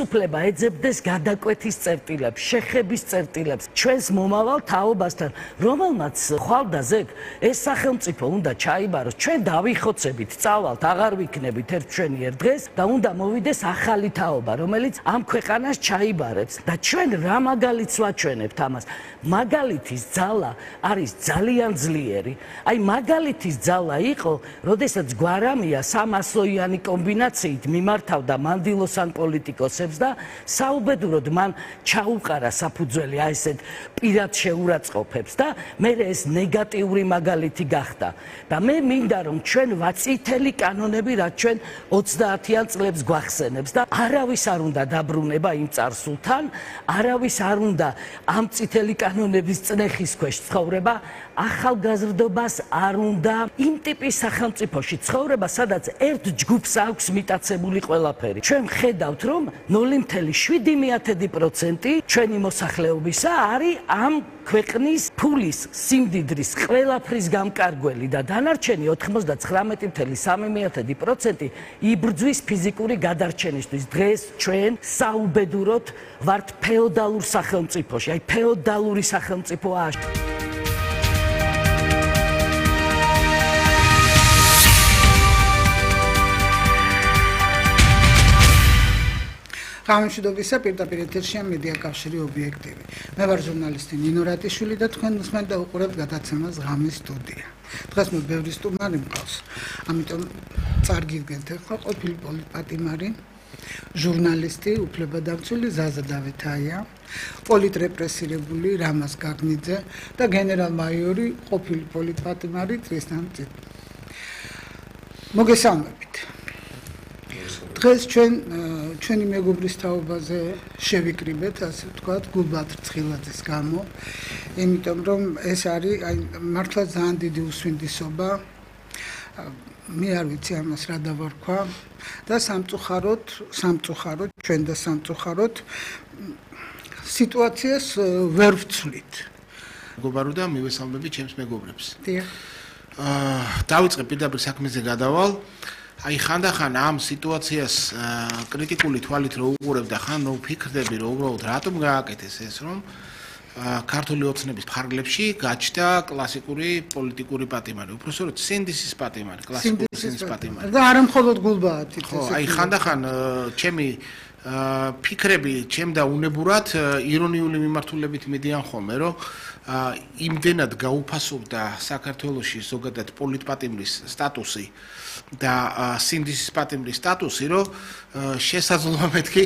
ხელისუფლება ეძებდეს გადაკვეთის წერტილებს, შეხების წერტილებს, ჩვენს მომავალ თაობასთან, რომელმაც ხვალდაზე ეს სახელმწიფო უნდა ჩაიბაროს, ჩვენ დავიხოცებით, წავალთ, აღარ ვიქნებით ერთ ჩვენიერ დღეს და უნდა მოვიდეს ახალი თაობა, რომელიც ამ ქვეყანას ჩაიბარებს და ჩვენ რა მაგალითს ვაჩვენებთ ამას? მაგალითის ძალა არის ძალიან ძლიერი. აი მაგალითის ძალა იყო, როდესაც გვარამია 300-იანი კომბინაციით მიმართავდა მანდილოსან პოლიტიკოსებს და საუბედუროდ მან ჩაუყარა საფუძველი აი ესეთ პირად შეურაცხყოფებს და მე ეს ნეგატიური მაგალითი გახდა. და მე მინდა რომ ჩვენ წითელი კანონები რაც ჩვენ 30-იან წლებს გვახსენებს და არავის არ უნდა დაბრუნება იმ წარსულთან, არავის არ უნდა ამ წითელი კანონების წნეხის ქვეშ ცხოვრება, ახალგაზრდობას არ უნდა იმ ტიპის სახელმწიფოში ცხოვრება, სადაც ერთ ჯგუფს აქვს მიტაცებული ყველაფერი. ჩვენ ხედავთ, რომ 0.7% ჩვენი მოსახლეობისა არის ამ ქვეყნის ფულის, სიმდიდრის, ყველაფრის გამკარგველი და დანარჩენი 99.3% იბრძვის ფიზიკური გადარჩენისთვის. დღეს ჩვენ საუბედუროდ ვართ ფეოდალურ სახელმწიფოში, აი ფეოდალური სახელმწიფოა. გამშვიდობისა პირდაპირ ეთერშია მედია კავშირი ობიექტივი. მე ვარ ჟურნალისტი ნინო რატიშვილი და თქვენ უსმენთ და უყურებთ გადაცემას ღამის სტუდია. დღეს მე ბევრი სტუმარი მყავს, ამიტომ წარგიდგენთ ახლა ყოფილი პოლიტპატიმარი, ჟურნალისტი, უფლებადამცველი ზაზა დავითაია, პოლიტრეპრესირებული რამაზ გაგნიძე და გენერალ-მაიორი ყოფილი პოლიტპატიმარი ტრისტან წიტ. მოგესალმებით. დღეს ჩვენი მეგობრის თაობაზე შევიკრიბეთ, ასე ვთქვათ, გულბადრ ცხილაძის გამო, იმიტომ რომ ეს არის მართლა ძალიან დიდი უსვინდისობა. მე არ ვიცი ამას რა დავარქვა და სამწუხაროდ ჩვენ და სამწუხაროდ სიტუაციას ვერ ვცვლით. მეგობარო და მივესალმები ჩემს მეგობრებს. დიახ. დავიწყე პირდაპირ საქმეზე გადავალ. აი ხანდახან ამ სიტუაციას კრიტიკული თვალით რო უყურებ და ხან რო ვფიქრდები რომ უბრალოდ რატომ გააკეთეს ეს რომ ქართული ოცნების ფარგლებში გაჩნდა კლასიკური პოლიტიკური პატიმარი, უпроსტოდ სინდისის პატიმარი, კლასიკური სინდისის პატიმარი. და არა მხოლოდ გულბაათით ხო, აი ხანდახან ჩემი ფიქრები ჩემდა უნებურად ირონიული მიმართულებით მიდიან ხოლმე, რომ იმდენად გაუფასობდა საქართველოში ზოგადად პოლიტპატიმრის სტატუსი და სინდისის პატიმრის სტატუსი, რომ შესაძლოა მეთქი